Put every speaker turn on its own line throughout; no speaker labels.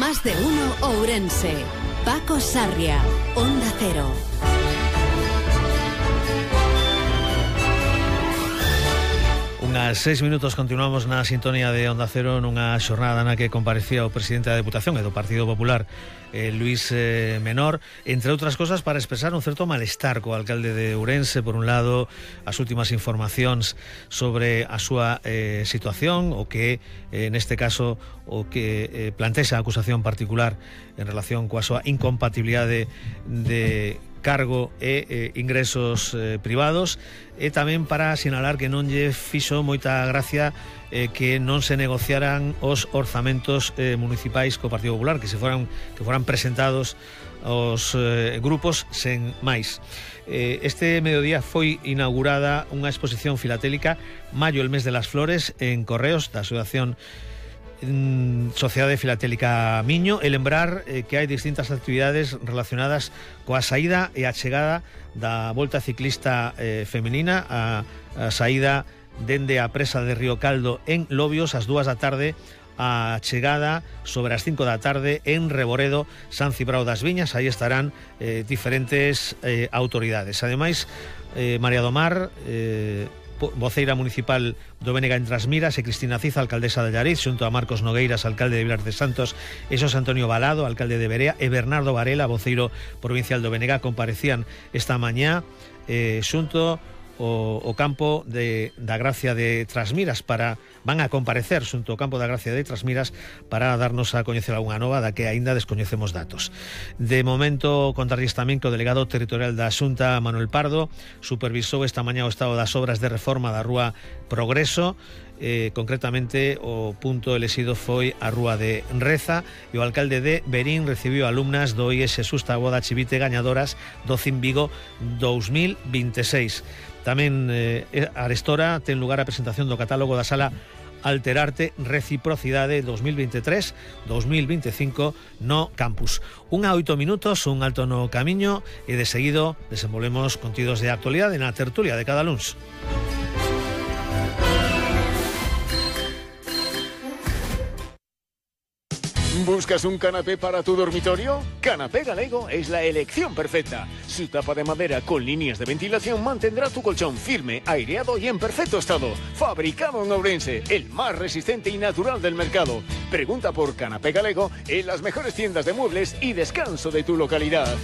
Más de uno Ourense. Paco Sarria, Onda Cero.
Unhas 6 minutos continuamos na sintonía de Onda Cero nunha xornada na que comparecía o presidente da Deputación e do Partido Popular, Luís Menor, entre outras cosas para expresar un certo malestar co alcalde de Ourense. Por un lado, as últimas informacións sobre a súa situación, o que neste caso o que plantexa a acusación particular en relación coa súa incompatibilidade de cargo e ingresos privados, e tamén para sinalar que non lle fixo moita gracia que non se negociaran os orzamentos municipais co Partido Popular, que foran presentados aos grupos sen máis. Este mediodía foi inaugurada unha exposición filatélica Maio, el mes de las flores, en Correos, da Asociación Sociedade Filatélica Miño, e lembrar que hai distintas actividades relacionadas coa saída e a chegada da Volta Ciclista femenina, a saída dende a presa de Río Caldo en Lobios ás 2 da tarde, a chegada sobre as 5 da tarde en Reboredo, San Cibrao das Viñas. Aí estarán diferentes autoridades. Ademais, María do Mar, voceira municipal do Bénega en Trasmiras, e Cristina Ciza, alcaldesa de Llariz, xunto a Marcos Nogueiras, alcalde de Vilar de Santos, e Xosé Antonio Balado, alcalde de Berea, e Bernardo Varela, voceiro provincial do Bénega, comparecían esta mañá xunto o campo da Gracia de Trasmiras van a comparecer xunto ao campo da Gracia de Trasmiras para darnos a coñecer algunha nova da que aínda descoñecemos datos. De momento, contarlles tamén que o delegado territorial da Xunta, Manuel Pardo, supervisou esta mañá o estado das obras de reforma da rúa Progreso. Concretamente, o punto elexido foi a rúa de Reza, e o alcalde de Berín recibiu alumnas do IES Xusta Boda Chivite gañadoras do CIM Vigo 2026. Tamén arestora ten lugar a presentación do catálogo da sala Alterarte Reciprocidade 2023-2025 no campus. 1:08 minutos, un alto no camiño, e de seguido desenvolvemos contidos de actualidade na tertulia de cada luns.
¿Buscas un canapé para tu dormitorio? Canapé Galego es la elección perfecta. Su tapa de madera con líneas de ventilación mantendrá tu colchón firme, aireado y en perfecto estado. Fabricado en Ourense, el más resistente y natural del mercado. Pregunta por Canapé Galego en las mejores tiendas de muebles y descanso de tu localidad.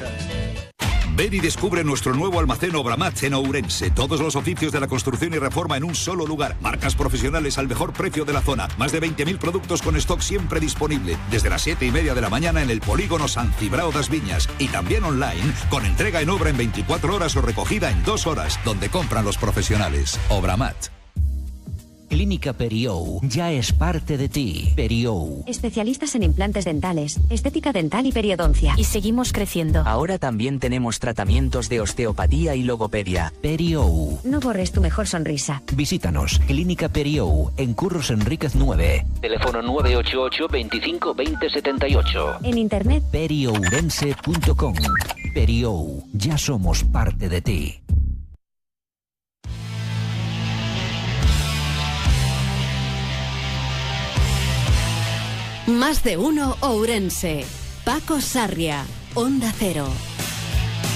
Ven y descubre nuestro nuevo almacén Obramat en Ourense. Todos los oficios de la construcción y reforma en un solo lugar. Marcas profesionales al mejor precio de la zona. Más de 20.000 productos con stock siempre disponible. Desde las 7:30 de la mañana en el polígono San Cibrao das Viñas. Y también online, con entrega en obra en 24 horas o recogida en 2 horas, donde compran los profesionales. Obramat.
Clínica Periou ya es parte de ti. Periou.
Especialistas en implantes dentales, estética dental y periodoncia.
Y seguimos creciendo.
Ahora también tenemos tratamientos de osteopatía y logopedia.
Periou.
No borres tu mejor sonrisa.
Visítanos. Clínica Periou, en Curros Enríquez 9.
Teléfono 988 25 20 78.
En internet,
periourense.com. Periou. Ya somos parte de ti.
Más de uno Ourense. Paco Sarria, Onda Cero.